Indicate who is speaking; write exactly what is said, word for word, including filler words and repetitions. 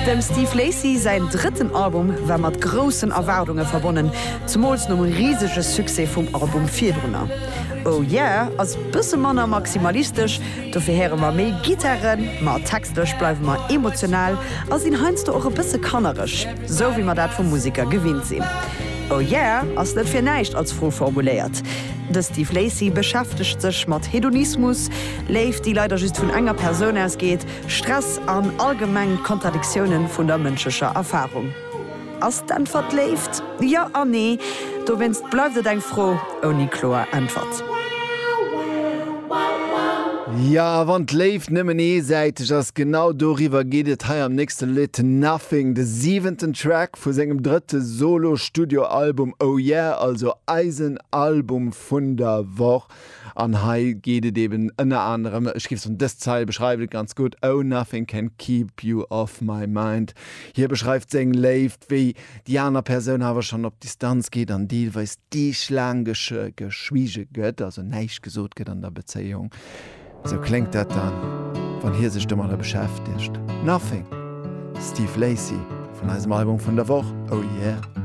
Speaker 1: Dem Steve Lacy säin drëtten Album war mat groussen Erwaardunge verbonnen, zemools nom risege Succès vum Album virdrunner. Oh Yeah ass bësse manner maximalistesch, dofir héiere mer méi Gittaren, ma textlech bleiwe mer emotional a sinn heiansdo och e bësse kannereg, sou wéi mer dat vum Museker gewinnt sinn. Oh Yeah ass net fir näischt als Fro formuléiert. De Steve Lacy beschäftegt sech mat Hedonismus, Léift, déi leider just vun enger Persoun ausgeet, Stress an allgemeng d'Kontradiktiounen vun der mënschlecher Erfarung. Ass d'Äntwert Léift? Jo an nee, dowéinst bleift et eng Fro ouni kloer Äntwert.
Speaker 2: Ja, wann d'Léift nëmmen eesäiteg ass, genau doriwwer geet et hei am nächste Lidd Nothing, de siwenten Track vu sengem drëtte Solo-Studio-Album Oh Yeah, also eisen Album vun der Woch. An hei geet et eben ënner anerem, ech géif soen, dës Zeil beschreift et ganz gutt, Oh nothing can keep you off my mind. Hie beschreift seng Léift, wéi déi aner Persoun awer schonn op Distanz geet an deelweis deeglaang geschwiege gëtt, also näischt gesot gëtt an der Bezéiung. Sou kléngt dat dann, wann hie sech domadder beschäftegt. Nothing, Steve Lacy vun eisem Album vun der Woch, Oh Yeah.